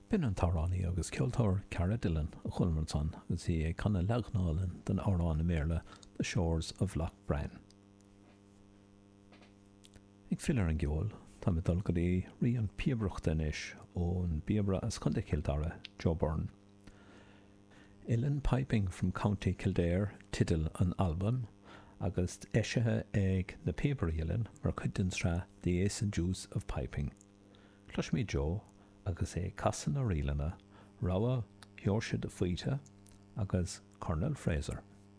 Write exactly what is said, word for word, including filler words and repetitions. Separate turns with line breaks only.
B'in an t-amhránaí agus ceoltóir Cara Dillon a chualamar ansan agus í ag canadh leagan álainn den amhrán i mBéarla The Shores of Loch Bran. Ag filleadh ar an gceol, táim ag dul go dtí rí an phíobaireachta anois ón bpíobaire as Contae Chill Dara, Joe Byrne. Uilleann Piping from County Kildare teideal an albaim agus eisithe ag na Píobairí Uilleann mar chuid den tsraith The Ace and Deuce of Piping. Cloisfimid Joe agus é ag casadh na ríleanna, rogha Sheoirse de Faoite agus Colonel Fraser.